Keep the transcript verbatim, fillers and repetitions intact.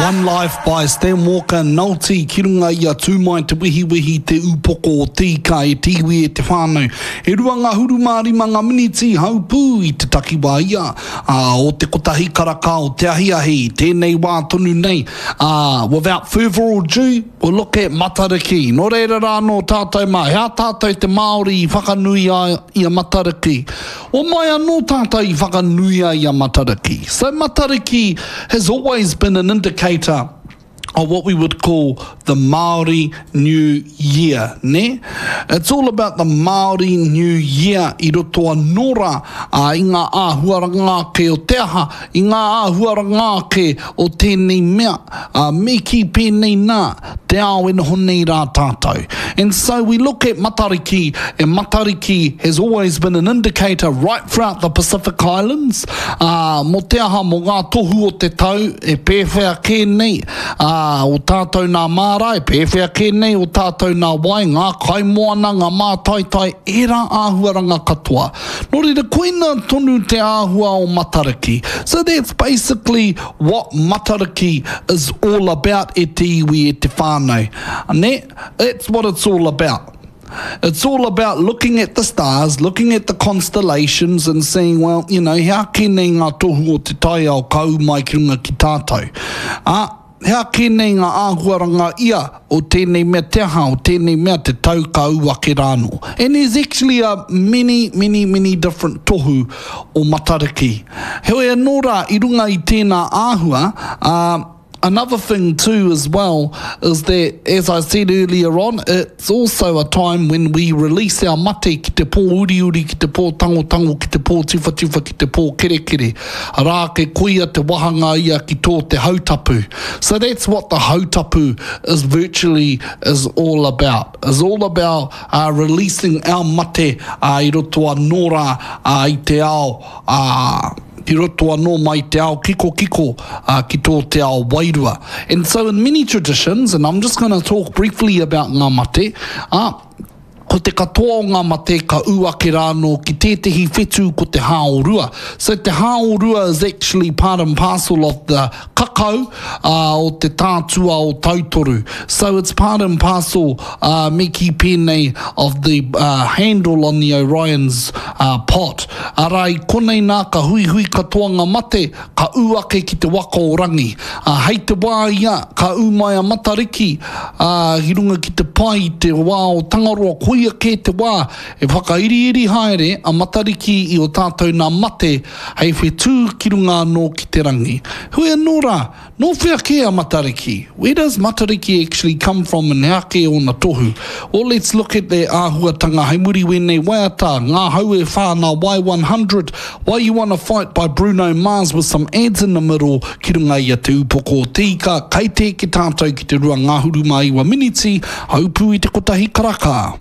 One Life by Stan Walker Nolte ki runga i a Tūmai Te Wehiwehi te upoko o te ika e te iwi e te whānau. E rua ngahuru mā rima ngā miniti haupū i te takiwā ia ā, o te kotahi karaka o te ahiahi i tēnei wā tonu nei. Ā, without further ado, we'll look at Matariki. Nō reira rā anō tātou mā, he aha tātou te Māori i whakanui ai i a Matariki? O mai anō tātou i whakanui ai i a Matariki. So Matariki has always been an indicator of what we would call the Māori New Year, ne? It's all about the Māori New Year i roto anō rā ā, i ngā āhuaranga ake o te aha, i ngā āhuaranga ake o tēnei mea, ā, me kī pēnei nā, te ao e noho nei rā tātou. And so we look at Matariki, and Matariki has always been an indicator right throughout the Pacific Islands, ā, mō te aha, mō ngā tohu o te tau e pēwhea kē nei, ā, o tātou nā māra, e pēwhea kē nei o tātou nā wai, ngā kaimoana, ngā mātaitai, ērā āhuaranga katoa. Nō reira, koina tonu te āhua o Matariki. So that's basically what Matariki is all about e te iwi, e te whānau. Ne? That's what it's all about. It's all about looking at the stars, looking at the constellations and saying, well, you know, hea kē nei ngā tohu o te taiao ka ū mai ki runga ki tātou. Ā, hea kē nei ngā āhuaranga ia o tēnei mea te aha, o tēnei mea te tau ka ū ake rānō. And there's actually a many, many, many different tohu o Matariki. Heoi anō rā, i runga i tēnā āhua, ā, Another thing too as well is that, as I said earlier on, it's also a time when we release our mate ki te pō uriuri, ki te pō tangotango, ki te pō tiwhatiwha, ki te pō kerekere. Arā ke koia te wahanga ia ki tō te hautapu. So that's what the hautapu is virtually is all about. Is all about uh, releasing our mate uh, i roto anō rā uh, i te ao uh, ki roto anō mai te ao kikokiko uh, ki tō te ao wairua. And so in many traditions, and I'm just going to talk briefly about ngā mate, uh, ko te katoa o ngā mate ka ū ake rānō ki tētehi whetū ko te hāorua. So te hāorua is actually part and parcel of the kakau uh, o te tātua o Tautoru. So it's part and parcel, uh, me kī pēnei, of the uh, handle on the Orion's uh, pot. Arā, i konei nā ka huihui katoa ngā mate, ka ū ake ki te waka o Rangi. Uh, hei te wā ia, ka ū mai a Matariki uh, ki runga ki te pae i te wā o Tangaroa, koia kē te wā e whakairiiri haere a Matariki i o tātou nā mate hei whetū ki runga anō ki te rangi. Heoi anō rā, nō whea kē a Matariki? Where does Matariki actually come from and hea kē ōna tohu? Well, let's look at the āhuatanga hei muri wēnei waiata, Ngā Hau e Whā nā Y one hundred, Why You Wanna Fight by Bruno Mars with some ads in the middle ki runga i a Te Upoko o Te Ika, kei te eke tātou ki te rua ngahuru mā iwa miniti, haupū i te kotahi karaka.